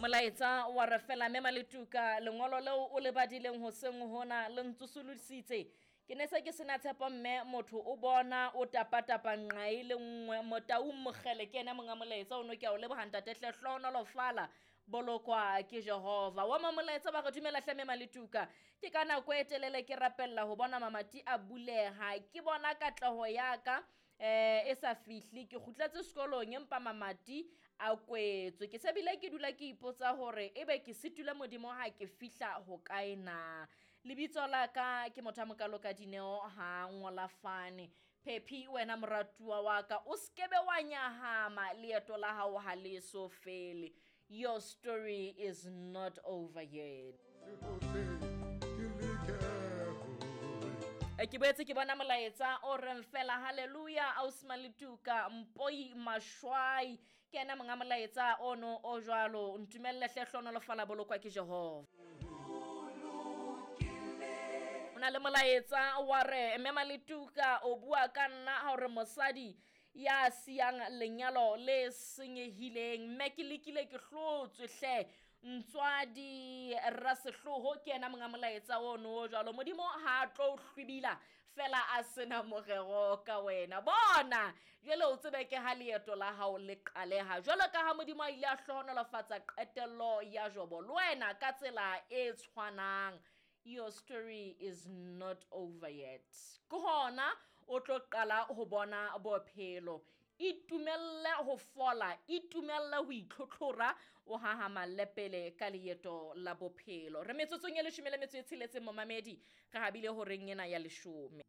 Molaetsa wa re fela mme Maletuka, lengolo leo o le badileng hoseng hona le ntsosolositse. Ke ne se ke sena tshepo mme motho o bona o tapatapa nqa e le nngwe. Motaung Mokgele ke ena monga molaetsa ono, ke a o leboha ntate hle, hlohonolofala, bolokwa ke Jehova. Wa ma molaetsa ba re dumela hle mme Maletuka, ke ka nako e telele ke rapella ho bona mamati a buleha, ke bona katleho ya ka e sa fihle, ke kgutletse sekolong empa mamati a kwetswe. Ke se bile ke dula ke ipotsa hore ebe ke sitile Modimo ha ke fihla ho kae na. Lebitso la ka ke motho a mokalo ka Dineo ha ngola fane. Phephi wena moratuwa wa ka, o skebe wa nyahama, leeto la hao ha le so fele. Your story is not over yet. Ke boetse ke bona molaetsa o reng fela hallelujah ausi Maletuka Mpoi Mashwai, ke ena monga molaetsa ono o jwalo. Ntumelle hle, hlohonolofala, bolokwa ke Jehova. O na le molaetsa wa re mme Maletuka o bua ka nna ha hore mosadi ya siyang lenyalo le senyehileng, mme ke lekile ke hlotswe hle ntswadi Rasehloho, ke ena monga molaetsa ono o jwalo. Modimo ha a tlo o hlwibila fela a sena morero ka wena. Bona jwale o tsebe ke ha leeto la hao le qaleha, jwalo ka ha Modimo a ile a hlohonolofatsa qetello ya Jobo, le wena ka tsela e tshwanang. Your story is not over yet. Ke hona o tlo qala ho bona bophelo. Itumelle ho fola, itumelle ho itlhotlhora, o hahamalle pele ka leeto la bophelo. Re metsotsong e 16 momamedi, re habile horeng ena ya 10.